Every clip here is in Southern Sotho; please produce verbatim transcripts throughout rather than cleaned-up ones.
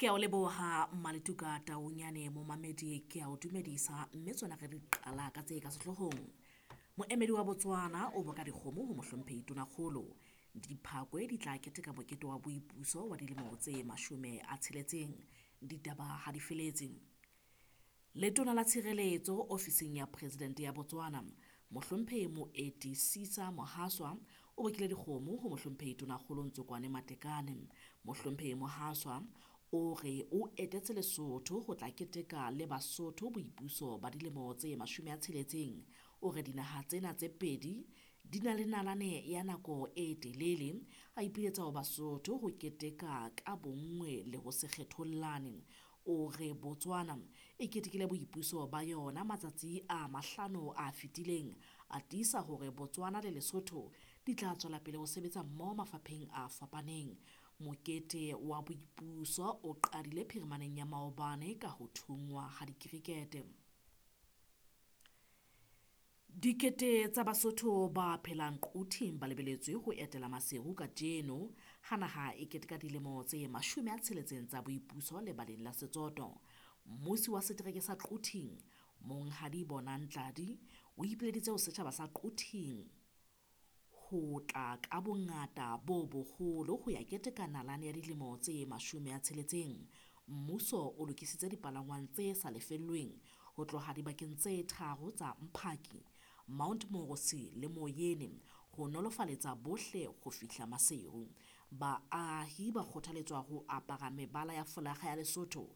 Ke a o leboha Maletuka Taunyane momamedi ke a o dumedisa mme tsona re di qala ka tse ka sehloohong. Moemedi wa Botswana o boka dikgomo ho mohlomphehi Tonakgolo. Diphakwe di tla keteka mokete wa boipuso wa dilemo tse mashome a tsheletseng. Ditaba ha di feletse. Letona la Tshireletso ofising ya President ya Botswana, Mohlomphehi Moeti Sisa Mohaswa o bokile dikgomo ho Mohlomphehi Tonakgolo Ntsokoane Matekane. Mohlomphehi Mohaswa o re o etetse Lesotho ho tla keteka le Basotho boipuso ba dilemo tse mashome a tsheletseng. O re dinaha tsena tse pedi di na le nalane ya nako e telele. A ipiletsa ho Basotho ho keteka ka bonngwe le ho se kgethollane. O re Botswana e ketekile boipuso ba yona matsatsi a mahlano a fetileng. A tiisa hore Botswana le Lesotho di tla tswela pele ho sebetsa mmoho mafapheng a fapaneng. Mokete wa boipuso o qadile phirimaneng ya maobane ka ho thungwa ha dikirikete. Dikete tsa Basotho ba phelang Quthing ba lebeletswe ho etela Maseru kajeno ha naha e keteka dilemo tse mashome a tsheletseng tsa boipuso lebaleng la Setsoto. Mmusi wa setereke sa Quthing, Monghadi Bonang Tladi, o ipileditse ho setjhaba sa Quthing ho tla ka bongata bo boholo ho ya keteka nalane ya dilemo tse mashome a tsheletseng. Mmuso o lokisitse dipalangwang tse sa lefellweng ho tloha dibakeng tse tharo tsa Mphaki, Mount Morose le Moyene ho nolofaletsa bohle ho fihla Maseru. Baahi ba kgothaletswa ho apara mebala ya folakga ya Lesotho,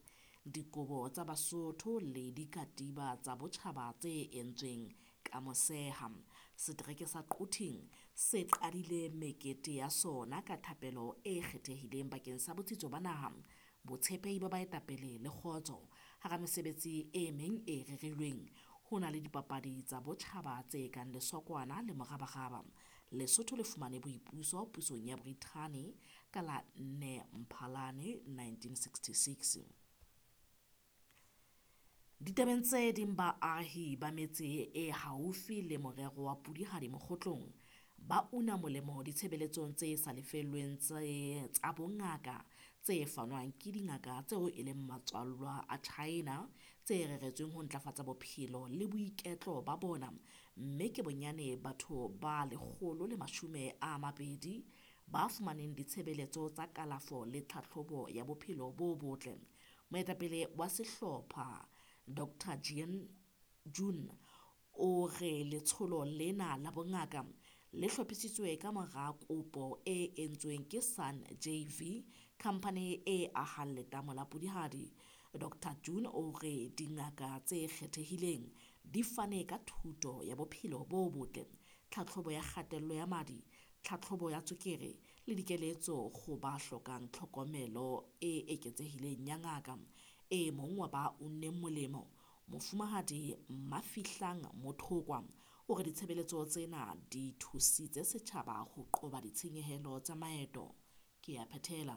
dikobo tsa Basotho le dikatiba tsa botjhaba tse entsweng ka moseha. Setereke sa Quthing se qadile mekete ya sona ka thapelo e kgethehileng bakeng sa botsitso ba naha, botshepehi ba baetapele le kgotso. Hara mesebetsi e meng e rerilweng ho na le dipapadi tsa botjhaba tse kang lesokwana le morabaraba. Lesotho le fumane boipuso pusong ya Brithani ka la nne Mphalane nineteen sixty-six. Ditabeng tse ding baahi ba metse e haufi le morero wa Pudihadi Mokgotlong ba una molemo ditshebeletsong tse sa lefellweng tse tsa bongaka tse fanwang ke dingaka tseo e leng matswallwa a China tse reretsweng ho ntlafatsa bophelo le boiketlo ba bona, mme ke bonyane batho ba lekgolo le mashome a mabedi ba fumaneng ditshebeletso tsa kalafo le tlhahlobo ya bophelo bo botle. Moetapele wa sehlopha Doctor Jean June o re letsholo lena la bongaka le hlophisitswe ka mora kopo e entsweng ke Sun J V, khamphane e ahang letamo la Pudihadi. Doctor June o re dingaka tse kgethehileng di fane ka thuto ya bophelo bo botle, tlhahlobo ya kgatello ya madi, tlhahlobo ya tswekere le dikeletso ho ba hlokang tlhokomelo e eketsehileng ya ngaka. E mong wa ba unneng molemo, Mofumahadi Mafihlang Mothokwa, o re ditshebeletso tsena di thusitse setjhaba ho qoba ditshenyehelo tsa maeto. Ke a phethela.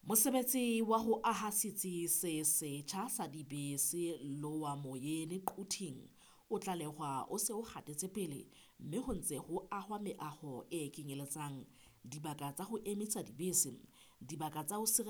Mosebetsi wa ho aha setsi se setjha sa dibese Lower Moyene Quthing o tlalehwa o se o hatetse pele mme ho ntse ho ahwa meaho e kenyeletsang dibaka tsa ho emisa dibese, dibaka tsa ho